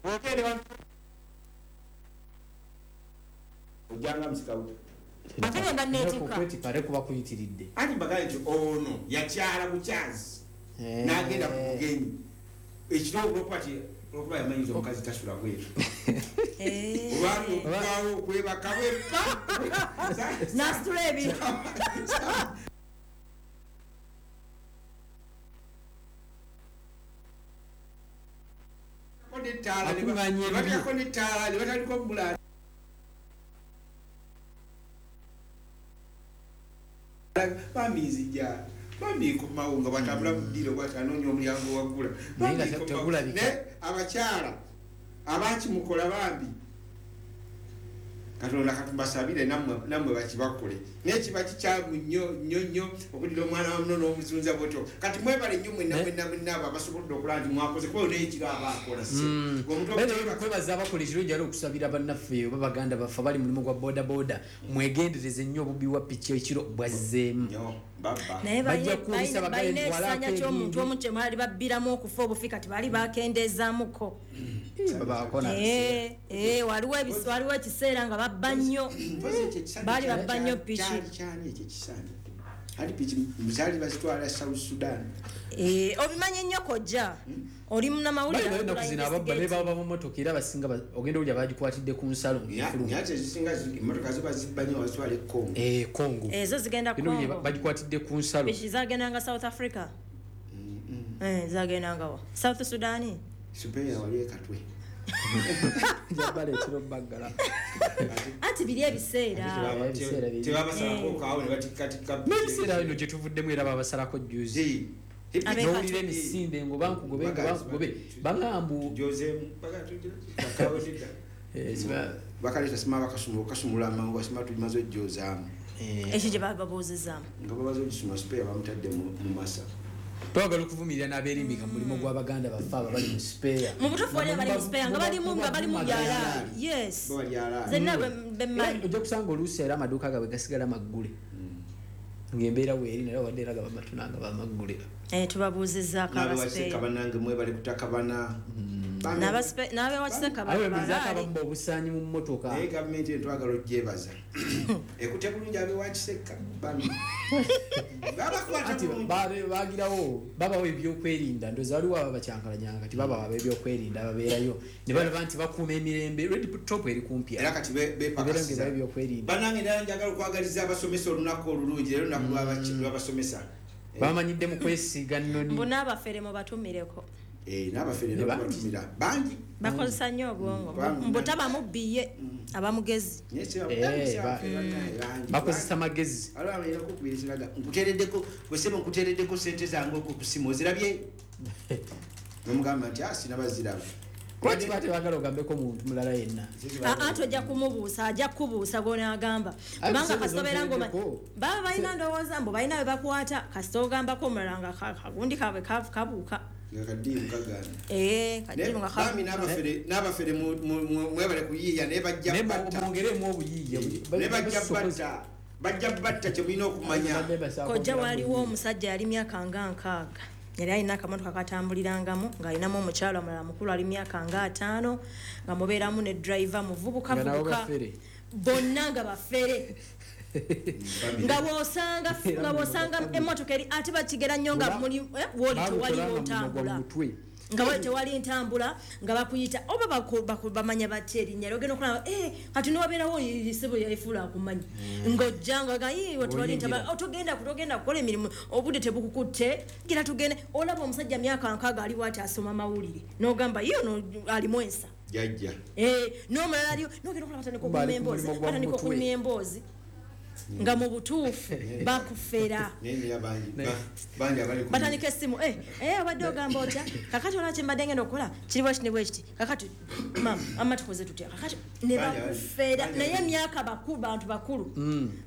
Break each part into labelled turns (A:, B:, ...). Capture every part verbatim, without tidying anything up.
A: Wogende ojjanga musikawuta.
B: Ate ngenda neetikka.
C: Okwetikka ate kuba kuyitiridde.
A: Anti mbagambye nti ono yakyala bukyazi n'agenda ku bugenyi. Ekiro olwokuba ti olwokuba yamanyiza omukazi tasula bweru. Olwali okugwawo okwebaka bweppa.
B: N'asitula ebintu.
A: Bateekako n'ettaala ne batandika okumulaala. Bambi nzija, bambi nkomawo nga bw'atambula mu ddiiro bw'ati anoonya omulyango waggula. Naye abakyala abakimukola bambi Katonda katubasabire nammwe bakibakole. Naye kiba kikyamu nnyo nnyo nnyo okuddira omwana wa muno n'omuzunza bw'otyo. Kati mwebale nnyo mwenna mwenna mwenna abo abasobodde okulaba nti mwakoze kuba naye ekiro aba akola si.
C: Kwebaza abakola ekirungi era okusabira bannaffe oba baganda baffe abali mu mulimu gwa boda boda mwegendereze nnyo obubbi bwa piki ekiro bwazzeemu.
B: Naye balina ekisanya ky'omuntu omu kye baali babbiramu okufa obufi kati baali bakendezaamuko. Waliwo ekiseera nga babba nnyo, baali babba nnyo piki.
A: Ati piki zaali bazitwala South Sudan.
B: Obimanyi nnyo kojja, oli munnamawulire.
C: Bali ennaku zino ababba ne baba mu mmotoka era abasinga ogenda owulira bagikwatidde ku nsalo ng'efuluma.
A: Naye ate ezisinga emmotoka zo bazibba nnyo bazitwala e Congo.
C: Eh, Congo.
B: Ezo zigenda Congo.
C: Bagikwatidde ku nsalo.
B: Piki zagendanga South Africa. Eh, zagendanga wa? South Sudan.
A: Supeya wali e Katwe.
C: Jabaleetera obbaggala.
B: Anti biri ebiseera.
A: Tebabasalako kaawo ne batikkatikka.
C: N'ebiseera bino gye tuvuddemu era babasalako jjuuzi. N'owulira emisinde ngo bankugobe ngo bankugobe. Bagambu.
A: Bakaleeta sima bakasumula okasumula amangu basima tumaze ojjozaamu.
B: Ekyo gye bababuuzizaamu.
A: Nga babaze ogisumula sipeeya bamutadde mu masa.
C: Twagala okuvumirira n'abeerimbika mu mulimu gw'abaganda baffe abo abali mu sipeeya.
B: Mu butuufu wali abali mu sipeeya nga balimu nga bali mu byalaani. Yes. Zenna bemmanyi.
C: Ojja kusanga oluusi era amaduuka gaabwe gasigala maggule. Ng'embeera weeri naye wadde era gaba matuna nga bamaggule.
B: Eh, tubabuuzizzaako abasipeeya.
A: N'abewakiseka bannange mwebale kutakabana.
B: N'abewakiseka
C: balaale. Abamu obusaanyi mu mmotoka.
A: Naye gavumenti eno twagala ogyebaza. Ekutte bulungi abewakiseka bambi.
C: Anti bagirawo babawo ebyokwerinda ndowooza waliwo aba bakyankalanyanga kati babawa ab'ebyokwerinda babeerayo ne balaba nti bakuuma emirembe. Red Top eri kumpi
A: era kati beepakasiza
C: ebyokwerinda.
A: Bannange ddala njagala okwagaliza abasomesa olunaku olulungi leero olunaku lw'abasomesa.
C: Bamanyidde mu kwesiiga nnoni.
B: Mbu n'abafere mubatumireko.
A: Eh, n'abafere babatumira bangi.
B: Bakozesa nnyo obwongo. Mbu tabamubbiye abamugezi.
C: Bakozesa magezi.
A: Nkuteereddeko gwe ssebo nkuteereddeko ssente zange okwo ku ssimu ozirabye? Nomugamba nti ah sinabaziraba.
C: Lwaki ba tebaagala ogambeko muntu mulala yenna?
B: Aa tojja kumubuusa, ajja kukubuusa gw'onaagamba. Kubanga kasita obeera ng'omanyi baba balina ndowooza mbu balina be bakwata kasita ogambako omulala nga kagundi kaabwe kabuuka.
A: Nga kaddiiru kagaana.
B: Eh, kaddiiru nga kabuuka.
A: Bambi n'abafere n'abafere mwebale kuyiiya naye bajja batta.
C: Mwongeremu obuyiiya.
A: Naye bajja batta. Bajja batta kye mulina okumanya.
B: Kojja waliwo omusajja yali myaka nga nkaaga. Yali alina akamotoka katambulirangamu ng'alinamu omukyala omulala mukulu ali myaka nga ataano nga mubeeramu ne driver muvubuka vubuka bonna nga bafere. Nga bw'osanga nga bw'osanga emmotoka eri ate bakigera nnyo nga muli wooli tewaliwo ntambula. Nga wooli tewali ntambula nga bakuyita oba bamanya batya erinnya ogenda okulaba eh kati newabeerawo ssebo yafuula akumanyi ng'ojja nga gayi tewali ntambula togenda togenda kukola emirimu obudde tebukukutte gira tugende olaba omusajja myaka nkaaga aliwo ati asoma mawulire n'ogamba ye ono alimu ensa.
A: Jajja.
B: Eh n'omulala aliwo n'ogenda okulaba atandika okunyumya emboozi atandika okunyumya emboozi. Nga mu butuufu bakufera. Batandika essimu eh eh obadde ogamba otya kakati olaba kye mbadde ngenda okukola kiri bwe kiti ne bwe kiti kakati maama amma tukoze tutya kakati ne bakufera naye emyaka bakulu bantu bakulu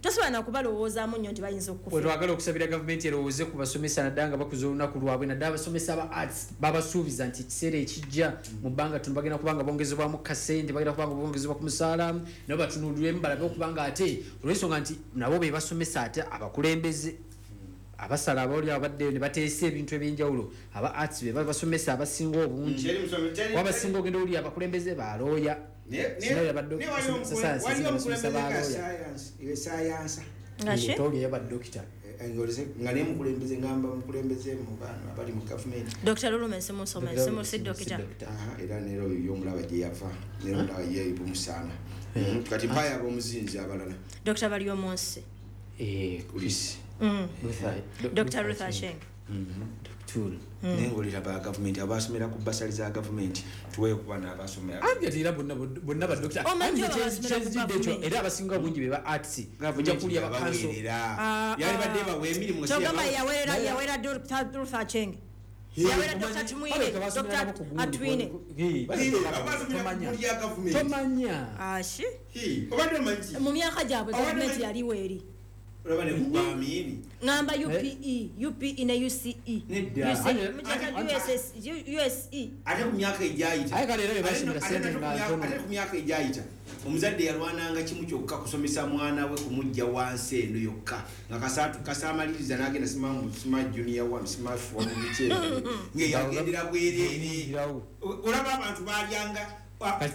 B: tosobola na kubalowoozaamu nnyo nti bayinza okukufera.
C: Twagala okusabira gavumenti erowooze ku basomesa naddala nga bakuza olunaku lwabwe naddala abasomesa aba arts babasuubiza nti ekiseera ekijja mu bbanga ttono bagenda kuba nga bongezebwamu kasente bagenda kuba nga bongezebwa ku musaala nabo batunuulirwemu balabe okuba nga ate olw'ensonga nti nabo be basomesa ate abakulembeze Abasala abali abaddeyo ne bateesa ebintu ebyenjawulo, aba arts be basomesa abasinga obungi, wabasinga ogenda oli abakulembeze balooya
A: nga nemukulembeze ngamba mukulembeze mu bantu abali mu gavumenti.
B: Doctor Lulume simusome simusi doctor
A: era nero yomulaba gye yava nero ndaba ye bumusana kati mpaya abomuzinzi abalala.
B: Doctor Baryomunsi
C: eh Chris
B: mm. Doctor Ruth Acheng
C: Doctor
A: nengolira ba government abasomera ku basali za government tuweyo kuba n'abasomera
C: ange era bonna bonna ba doctor era abasinga obungi be ba arts ojja kulya ba council
A: yali badde bawe emirimu
B: kyogamba yawera yawera Doctor Ruth Acheng yawera Doctor Tumwine Doctor Atwine
C: tomanya
B: ashi
A: obadde manyi
B: mu myaka gyabwe government yaliwo eri
A: olaba ne kugwamini
B: ngamba U P E U P E ne U C E U S S U S E
A: ate ku myaka egyayita
C: aye kale era basomera sente nga ntono
A: ate ku myaka egyayita omuzadde yalwananga kimu kyokka kusomesa mwana we kumujja wansi eno yokka nga kasatu kasamaliriza n'agenda sima sima junior one sima four mu bikyere nge yagendera bwereere olaba abantu balyanga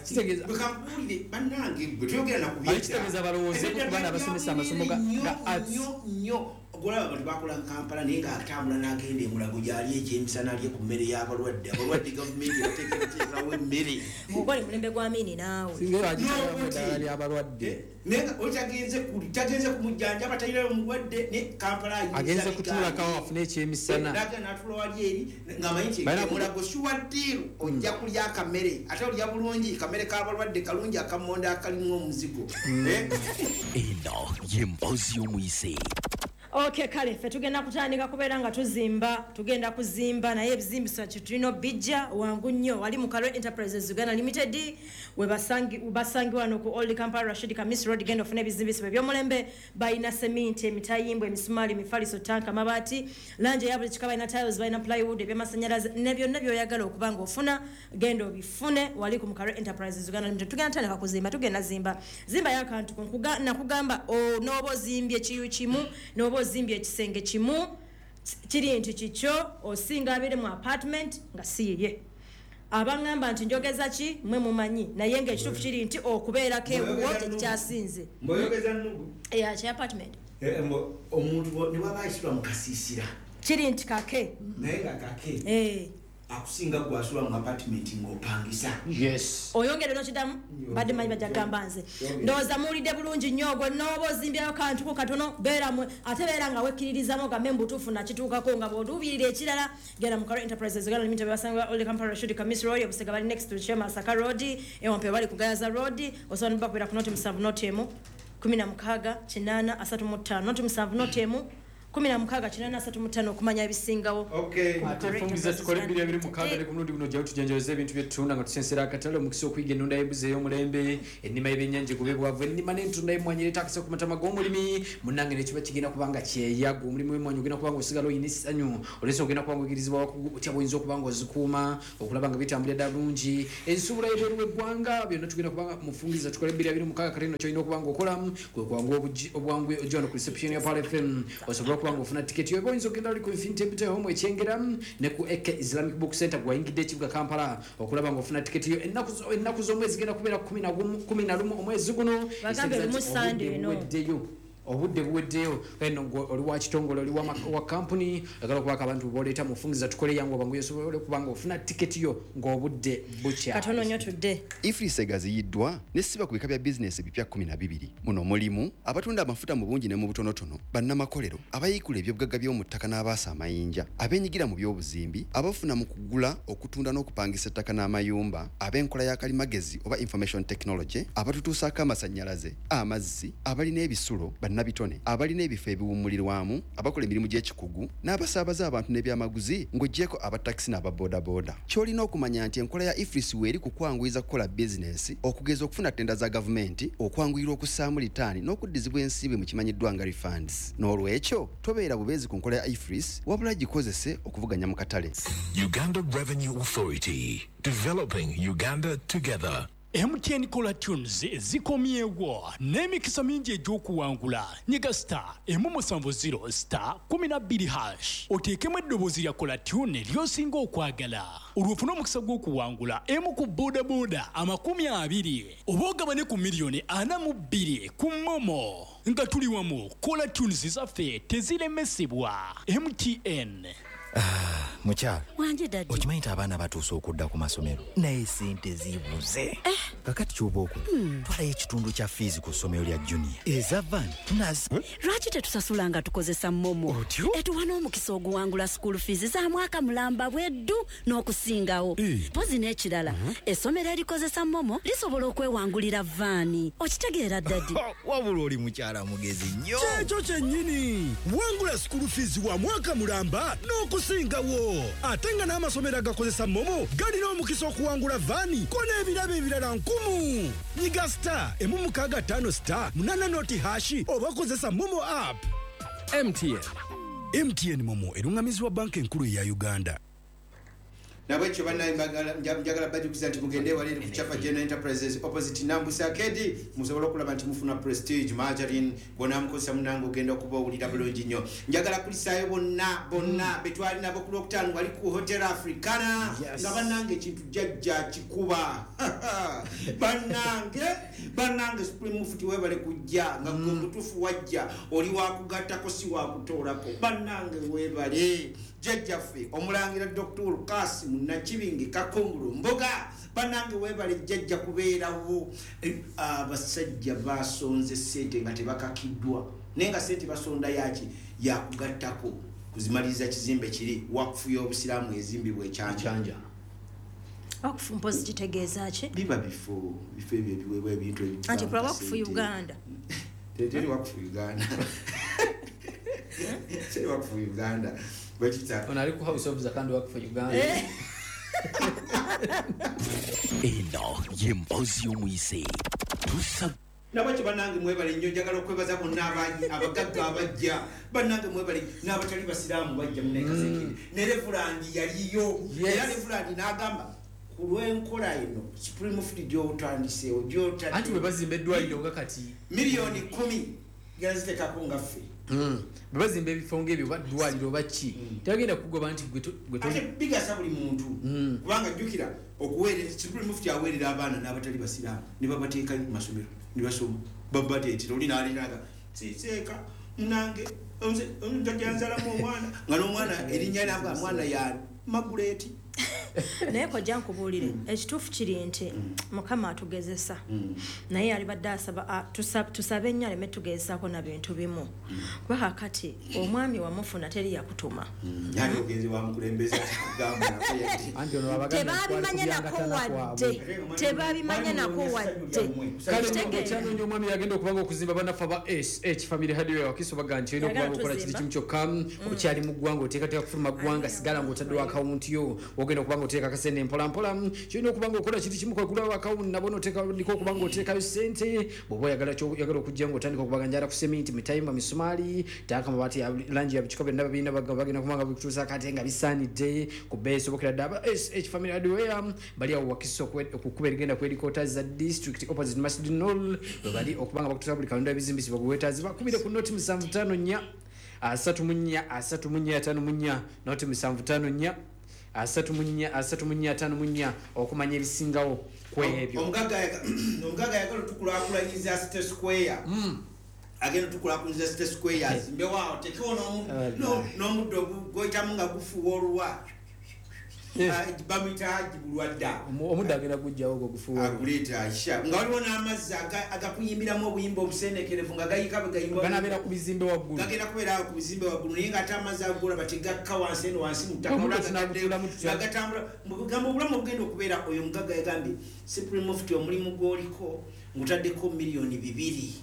C: kitegeeza
A: bakampulire bannange gwe tuyogera nakubye
C: kitegeeza balowooze ku baana abasomesa amasomo ga arts
A: nnyo ogolaba abantu bakola Kampala naye ng'atambula n'agenda emulago gyali ekyemisana alye ku mmere y'abalwadde abalwadde gavumenti yateekerateekerawo emmere
B: ogole mulembe gwa Amini naawe
C: singa bagiteramu eddagala ly'abalwadde
A: naye oli tagenze tagenze kumujjanjaba talinayo mulwadde ne Kampala
C: agenze kutuulako afune ekyemisana
A: n'agenda n'atuula wali eri ng'amanyi nti emulago sure deal ojja kulya akamere ate olya bulungi kamere k'abalwadde kalungi akamonda akalimu omuzigo
D: eno y'emboozi y'omuyise.
B: Okay, kale ffe tugenda kutandika kubeera nga tuzimba tugenda kuzimba naye ebizimbisa kitulina bijja wangu nnyo wali mu Kalo Enterprises Uganda Limited we basangi basangi wano ku Old Kampala Rashid Kamis Road genda ofune ebizimbisa eby'omulembe balina seminti emitayimbwa emisumaali emifaliso tanka amabaati langi eya buli kika balina tiles balina plywood ebyamasannyalaze ne byonna by'oyagala okuba nga ofuna genda obifune wali ku Kalo Enterprises Uganda Limited. Tugenda tandika kuzimba tugenda zimba zimba y'akantu nakugamba n'oba ozimbye ekiyu kimu n'oba ozimbye ekisenge kimu kiri nti kikyo osinga abiri mu apartment nga si yiye abangamba nti njogeza ki mwe mumanyi naye nga ekituufu kiri nti okubeerako ewuwo tekikyasinze
A: mboyogeza nnugu
B: eya kya apartment
A: omuntu ne waba ayisirwa mu kasiisira
B: kiri nti kake
A: naye nga kake
B: eh
A: akusinga gwasula mu apartment ng'opangisa
C: yes
B: oyongere n'okiddamu badde manyi bajja kugamba nze ndowooza muwulidde bulungi nnyo gwe n'oba ozimbyayo kantuko katono beeramu ate beera nga wekkiririzamu ogambe mbutuufu nakituukako nga bw'otuubirira ekirala genda mu Kalo Enterprises Uganda Limited basangibwa Old Kampala Rashid Kamis Road Busega bali next to Chema Masaka Road Ewampe bali ku Gayaza Road osobola n'obakubeera ku noti musanvu noti emu kumi na mukaaga kinaana asatu mu ttaano noti musanvu noti emu kumi na mukaaga kinaana asatu mu ttaano okumanya ebisingawo.
A: Okay.
C: Ate fungiza tukole bbiri abiri mukaaga ne ku mulundi guno ojjawo tujanjaweze ebintu byetutunda nga tusensera akatale omukisa okuyiga ennunda y'embuzi ey'omulembe ennima y'ebyennyanja egobe bwavu ennima n'entunda y'emmwanyi ereeta akisa ku matama g'omulimi munnange nekiba kigenda kuba nga kyeyago omulimu w'emmwanyi ogenda kuba nga osigala oyina essanyu olw'ensonga ogenda kuba nga oyigirizibwa otya bw'oyinza okuba nga ozikuuma okulaba nga bitambulira ddala bulungi ensuubula y'ebweru w'eggwanga byonna tugenda kuba nga mufungiza tukole bbiri abiri mukaaga kale nno ky'olina okuba nga okolamu kwe kwangu obwangu ojja wano ku reception ya Pearl F M osobola okuba nga ofuna tiketi yo oyinza okugenda oli ku Infinity Empty Home ekyengera ne ku A K Islamic Book Center gwayingidde ekibuga Kampala okulaba nga ofuna tiketi yo ennaku ennaku z'omwezi zigenda kubeera kumi na lumu omwezi guno
B: bagambe lumu Sunday eno
C: obudde buweddeyo eno oli wa kitongole oli wa kampuni oyagala okubaako abantu boleeta mufungiza tukole yangu abangu osobola okuba nga ofuna tiketi yo ng'obudde bukya
B: katono nnyo tudde.
E: EFRIS egaziyiddwa nesiba ku bika bya bizinesi ebipya kkumi na bibiri muno mulimu abatunda amafuta mu bungi ne mu butonotono bannamakolero abayiikula ebyobugagga by'omu ttaka n'abaasa amayinja abeenyigira mu by'obuzimbi abafuna mu kugula okutunda n'okupangisa ettaka n'amayumba ab'enkola ya kalimagezi oba information technology abatutuusaako amasannyalaze amazzi abalina ebisulo bannabitone abalina ebifo ebiwummulirwamu abakola emirimu gy'ekikugu n'abasaabaza abantu n'ebyamaguzi ng'oggyeko abatakisi n'ababoodabooda. Ky'olina okumanya nti enkola ya EFRIS weeri ku kwanguyiza kukola bizinesi okugeza okufuna ttenda za gavumenti okwanguyirwa okussaamu litaani n'okuddizibwa ensimbi mu kimanyiddwa nga refunds. N'olwekyo tobeera bubeezi ku nkola ya EFRIS wabula gikozese okuvuganya mu katale.
D: Uganda Revenue Authority, developing Uganda together.
F: M T N Caller Tunes zikomyewo n'emikisa mingi egy'okuwangula. Nyiga star emu musanvu zero star kumi na bbiri hash oteekemu eddoboozi lya Caller Tune ly'osinga okwagala, olwo ofune omukisa gw'okuwangula emu ku bodaboda amakumi abiri oba ogabane ku miliyoni ana mu bbiri ku MoMo. Nga tuli wamu, Caller Tunes zaffe teziremesebwa. M T N.
G: Ah, mukyala
H: wanje daddy,
G: okimanyi nti abaana batuuse okudda ku masomero naye sente zibuze.
H: Eh.
G: Kakati ky'oba okola,
H: Hmm.
G: twalayo ekitundu kya fiizi ku ssomero lya junior eza van tunazi.
H: Lwaki tetusasula nga tukozesa MoMo?
G: Otyo?
H: Etuwa n'omukisa oguwangula school fees za mwaka mulamba bweddu n'okusingawo.
G: Eh.
H: Mpozi n'ekirala,
G: Mhm.
H: essomero erikozesa MoMo lisobola okwewangulira vaani. Okitegeera daddy?
G: Wabula oli mukyala mugezi nnyo.
I: Kyekyo kyennyini, wangula school fees wa mwaka mulamba n'okusingawo. Ate nga n'amasomero agakozesa MoMo galina omukisa okuwangula vaani ko n'ebirabo ebirala nkumu. Nyiga star emu mukaaga ttaano star munaana noti hashi oba kozesa MoMo app.
J: M T N.
I: M T N MoMo erungamizibwa banka enkulu eya Uganda.
A: Nabwekyo bannaye njagala bajjukiza nti mugende wali eri ku Chafa General Enterprises opposite Nambusa Arcade, musobole okulaba nti mufuna Prestige margarine bw'onaamukozesa munnange ogenda okuba owulira bulungi nnyo. Njagala kulisaayo bonna bonna be twali nabo ku Lwokutaano wali ku Hotel Africana,
C: Yes.
A: nga bannange ekintu jjajja kikuba. Bannange, bannange Supreme Mufti weebale kujja, nga gwe mutuufu wajja, oli wakugattako si wakutoolako. Bannange weebale. Jjajjaffe omulangira Doctor Kasim Nakibinge Kakungulu Mboga, bannange weebale jjajja kubeerawo. Eh, abasajja basonze ssente nga tebakakiddwa, naye nga ssente basonda yaki yakugattako kuzimaliriza kizimbe kiri wakufu y'obusiraamu ezimbibwa ekyanja.
C: Ekyanja.
B: Wakufu mpozi kitegeeza ki?
A: Biba bifo, bifo ebyo ebiweebwa ebintu ebivaamu
B: Anti kula wakufu
A: ssente.
B: Uganda.
A: Teri wakufu Uganda. Teri wakufu Uganda. Bakiyita
C: Ono ali ku House of Zakandi wakufu Uganda.
B: Eh.
D: Eno y'emboozi y'omuyise. Tusa
A: Nabakyo bannange mwebale nnyo, njagala okwebaza bonna abangi abagagga abajja. Bannange mwebale n'abatali basiraamu bajja munnekasekindi. Ne Reverend yaliyo.
C: Yes.
A: Era Reverend n'agamba ku lw'enkola eno Supreme Mufti gy'otandiseewo, gy'otadde.
C: Anti bwe bazimba eddwaliro nga kati
A: miliyoni kkumi genda ziteekako nga ffe.
C: Mm. Bwe bazimba ebifo ng'ebyo oba ddwaliro oba ki, tebagenda kugoba nti gwe to-, gwe toli-
A: Ate bigasa buli muntu.
C: Mm.
A: Kubanga jjukira okuweereza, Supreme Mufti aweerera abaana n'abatali basiraamu ne babateeka mu masomero ne basoma. Babateetera oli n'aliraga, siseeka munange, nze, nze nzalamu omwana. Nga n'omwana erinnya ly'abaana, mwana ya Maguleeti.
B: Naye kojja nkubuulire, ekituufu kiri nti Mukama atugezesa. Naye alibadde asaba, a, tusa-, tusabe nnyo aleme tugezesaako na bintu bimu. Kuba kaakati omwami wamufuna teri yakutuma.
A: Yali ogenze wamukulembeza akugamba nako yadde.
C: Anti ono abaganda
B: Tebabimanye
C: twali
B: nako
C: kubyangatana
B: wadde.
C: kwabwe.
B: Tebabimanye nako wadde.
C: Kale
B: Kitegeera.
C: okyanoonya omwami yagenda okubanga okuzimba bannaffe aba S H Family Hardware Wakiso bagamba nti olina
B: Yagala
C: okubanga okola kiri
B: tuzimba.
C: kimu kyokka, okyali mu ggwanga oteekateeka kufuluma ggwanga, sigala ng'otaddewo akawunti yo, ogenda okuba ng'oteeka akasente mpola mpola. Kyolina okuba ng'okola kintu kimu kwe kugulawo akawunti, nabwo n'oteekandika okuba ng'oteekayo ssente. Bw'oba oyagala kyo-, oyagala okujja ng'otandika okubaga njala ku seminti, mitayimba, misumaali, taaka amabaati ya langi ya bikiko byonna babirina, baga-, bagenda kuba nga bikutuusa akate nga bisaanidde ku bbeeyi esobokera ddala. Aba S H Family Hardware bali awo Wakiso kwe-, ku kkubo erigenda ku headquarters za district opposite Masjid Nur, we bali okuba nga bakutuusa buli kalonda ebizimbisibwa gwe weetaazi. Bakubire ku noti musanvu ttaano nnya, asatu mu nnya, asatu mu nnya, ataano mu nnya, noti musanvu ttaano nnya, asatu mu nnya, asatu mu nnya, ataano mu nnya, okumanya ebisingawo ku ebyo.
A: Omugagga yaga-, omugagga yagala otukulaakulanyiza City Square.
C: Mm.
A: Agenda otukulaakulanyiza City Square, azimbewo awo, tekewo n'omu-,
C: Ah,
A: no-, n'omuddo ogu-, gw'oyitamu nga gufuuwa oluwa.
C: Eh.
A: Ah, bamuyita Haji Bulwadda.
C: Omu-, omuddo agenda kugggyawo ogwo gufuuwa oluwa.
A: Aguleeta Aisha. Nga waliwo n'amazzi aga-, agakuyimbiramu obuyimba obusendekerevu nga gayika bwe gayimba
C: Ganabeera ku bizimbe waggulu.
A: Gagenda kubeera awo ku bizimbe waggulu, naye ng'ate amazzi ago golaba tegakka wansi eno wansi mu ttaka.
C: Omuddo
A: Olaba
C: tunagutuulamu tutya?
A: nga gatambula. Mugamba obulamu obugenda okubeera oyo omugagga yagambye, Supreme Mufti omulimu gw'oliko ngutaddeko miliyoni bibiri.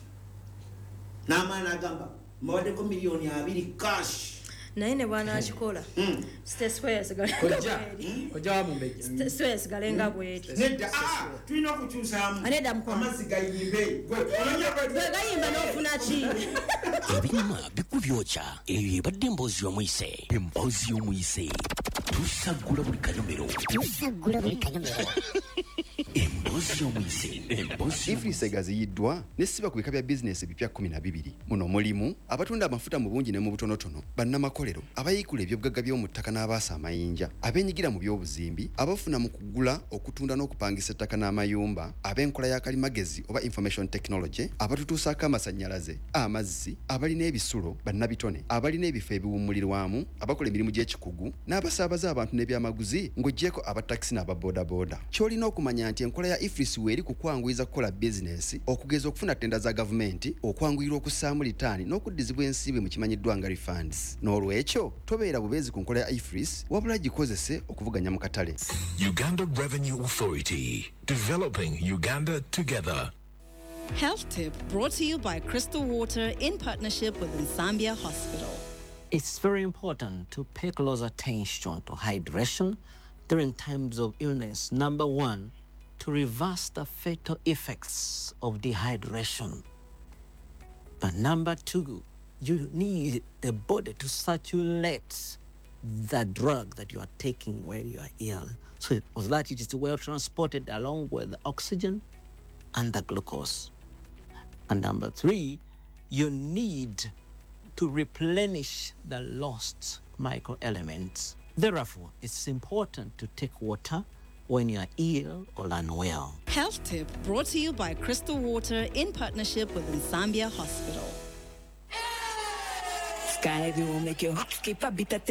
A: N'amaanyi agamba, mbawaddeko miliyoni abiri cash.
B: Naye ne bw'anaakikola,
A: Mm.
B: City Square esigale nga
C: Kojja,
B: bw'eri.
C: kojja wa Mumbejja.
B: City Square esigale nga bw'eri.
A: Nedda, ah, tulina okukyusaamu.
B: Ah, nedda, mukwano.
A: Amazzi gayimbe. Gwe, omanya gwe-
B: Gwe gayimba n'ofuna ki?
D: Ebinyuma bikubyokya. Eyo ebadde emboozi y'omuyise. Emboozi y'omuyise. Tusaggula buli kanyomero.
K: Tusaggula buli kanyomero.
D: Emboozi Emboozi y'omuyise, emboozi.
E: EFRIS egaziyiddwa nesiba ku bika bya bizinesi ebipya kkumi na bibiri. Muno mulimu abatunda amafuta mu bungi ne mu butonotono, bannamakolero, abayiikula ebyobugagga by'omu ttaka n'abaasa amayinja, abeenyigira mu by'obuzimbi, abafuna mu kugula, okutunda n'okupangisa ettaka n'amayumba, ab'enkola ya kalimagezi oba information technology, abatutuusaako amasannyalaze, amazzi, abalina ebisulo, bannabitone, abalina ebifo ebiwummulirwamu, abakola emirimu gy'ekikugu, n'abasaabaza abantu n'ebyamaguzi, ng'oggyeko abatakisi n'ababoodabooda. Ky'olina okumanya nti enkola ya EFRIS weeri ku kwanguyiza kukola bizinesi, okugeza okufuna ttenda za gavumenti, okwanguyirwa okussaamu litaani n'okuddizibwa ensimbi mu kimanyiddwa nga refunds. N'olwekyo tobeera bubeezi ku nkola ya EFRIS, wabula gikozese okuvuganya mu katale.
J: Uganda Revenue Authority, developing Uganda together.
H: Health tip brought to you by Crystal Water in partnership with Nsambya Hospital.
K: It's very important to pay close attention to hydration during times of illness. Number one, to reverse the fatal effects of dehydration. But number two, you need the body to circulate the drug that you are taking when you are ill, so that it is well transported along with the oxygen and the glucose. And number three, you need to replenish the lost microelements. Therefore, it's important to take water when you are ill or unwell.
H: Health tip brought to you by Crystal Water in partnership with Nsambya Hospital.
L: Sky will make your heart skip a beat.